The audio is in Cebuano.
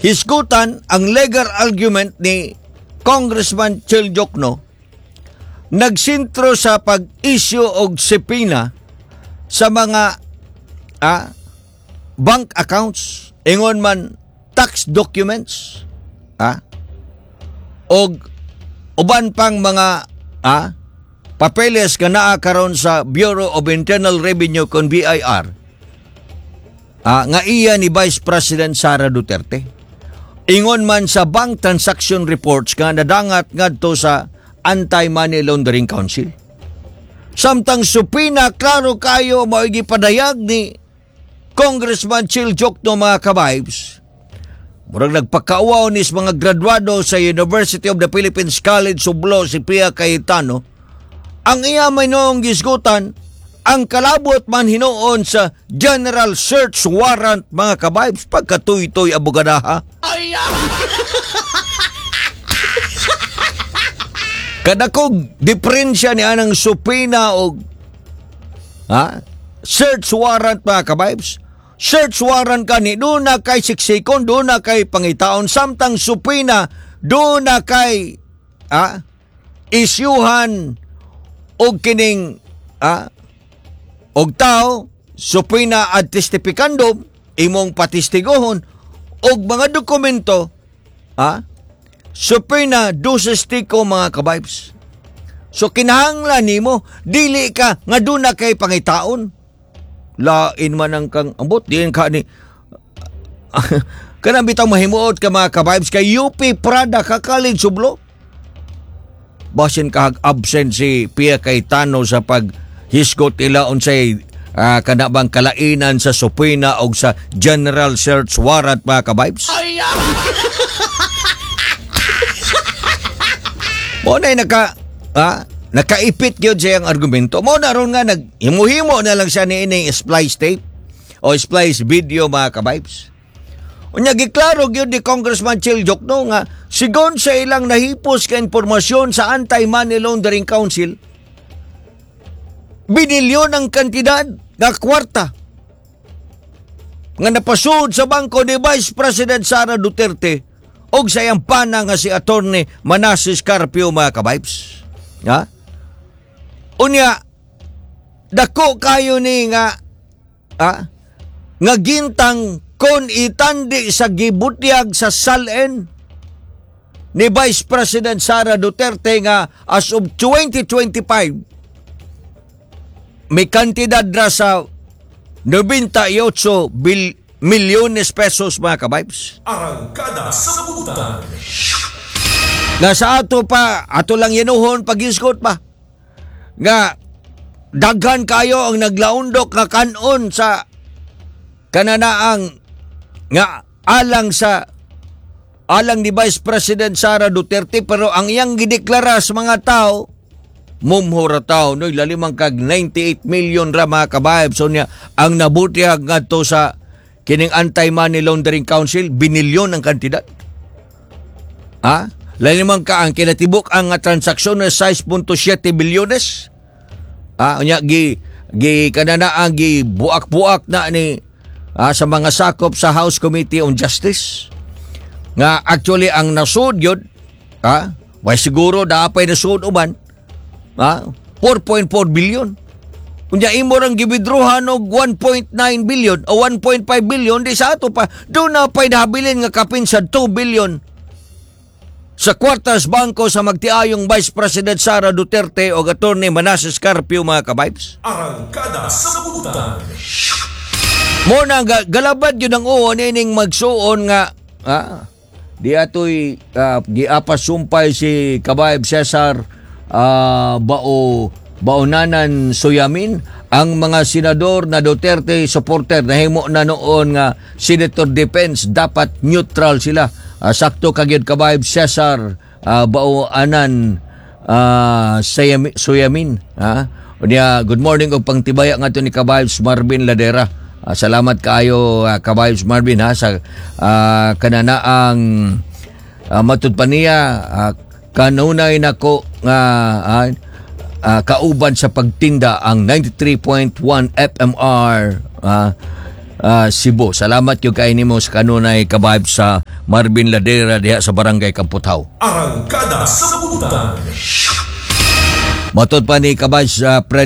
Hisgutan ang legal argument ni Congressman Chel Diokno nagsintro sa pag-issue og subpoena sa mga bank accounts, ingon man tax documents, og uban pang mga papeles nga naa karon sa Bureau of Internal Revenue kon BIR nga iya ni Vice President Sara Duterte. Ingon man sa bank transaction reports nga nadangat ngadto sa Anti-Money Laundering Council. Samtang subpoena, klaro kayo, mao gipadayag ni Congressman Chel Diokno, mga ka-vibes. Murag nagpakauwaw ni sa mga graduado sa University of the Philippines College of Law si Pia Cayetano. Ang iya may noong gisgutan, ang kalabot man hinuon sa general search warrant, mga ka-vibes, pagkatuy-tuy abogadaha. Kadakog diferensya ni anang subpoena og search warrant, mga ka-vibes. Search warrant kani doon na kay siksikon, doon na kay pangitaon, samtang subpoena doon na kay isyuhan og kining og tao, subpoena ad testificandum, imong patestiguhon og mga dokumento, subpoena duces tecum, mga ka-vibes. So kinahanglan nimo dili ka nga doon na kay pangitaon. Lain man ang kang ambot diin ka ni kanang bitaw mahimuot ka, mga ka-vibes, kay UP Prada ka College of Law. Basin kahag absent si Pia Cayetano sa paghisgot nila unsay kana bang kalainan sa subpoena og sa general search warrant, mga ka-vibes. Mo na nakaipit gyud siya ang argumento. Mo na ron nga naghimuhimo na lang siya ni ini splice tape o splice video, mga ka-vibes. Unya giklaro gyud ni Congressman Chel Diokno nga sigon sa ilang nahipos ka impormasyon sa Anti-Money Laundering Council, binilyon ang kantidad nga kwarta nga napasud sa bangko ni Vice President Sara Duterte og sa iyang pana nga si Attorney Manases Carpio, mga ka-vibes. Ha? Unya, dako kayo ni nga nga gintang kon itandi sa gibutyag sa SALN ni Vice President Sara Duterte nga as of 2025 may kantidad ra sa 98 milyones pesos, mga ka-vibes. Arangkada sa Butan. Nga sa ato pa, ato lang yanuhon pag-isgot pa. Nga daghan kayo ang naglaundok nga kanon sa kananaang nga alang sa alang ni Vice President Sara Duterte, pero ang iyang gideklara sa mga tao, mumhura tao no, lalimang kag 98 million ra, mga ka-vibes. So niya ang nabutiag ngadto sa kining Anti-Money Laundering Council, binilyon ang kantidad. Ha? Lalimang ka ang kinatibuk ang transaksyon na 6.7 bilyones. Unya gi gi kanana ang gi buak-buak na ni sa mga sakop sa House Committee on Justice. Nga actually ang nasud yun, way siguro daapay nasud uban, 4.4 billion. Unya imo rang gibidruhan og 1.9 billion o 1.5 billion, di sa ato pa doon na pa'y nahabilin nga kapin sa 2 billion sa kwartas bangko sa magtiayong Vice President Sara Duterte o Attorney Manases Carpio, mga ka-vibes. Arangkada sa Butan. Mo na galabad yun ang uon ining magsuon nga di atoy giapas sumpay si Kabayb Cesar Baonanan Suyamin. Ang mga senador na Duterte supporter nahimo na noon nga senator defense, dapat neutral sila. Sakto kagyud, Kabayb Cesar Baoanan Suyamin. Ha? Unya, good morning og pangtibaya ngadto ni Kabayb Marvin Ladera. Salamat kaayo, Kabayb Marvin, ha, sa kananaang matud pa niya kanunay nako nga kauban sa pagtinda ang 93.1 FMR. Cebu. Salamat gyud kay nimo sa kanunay, ka-vibes, sa Marvin Ladera diha sa Barangay Kamputhaw. Arangkada sa Butan. Matod pa ni ka-vibes Fred.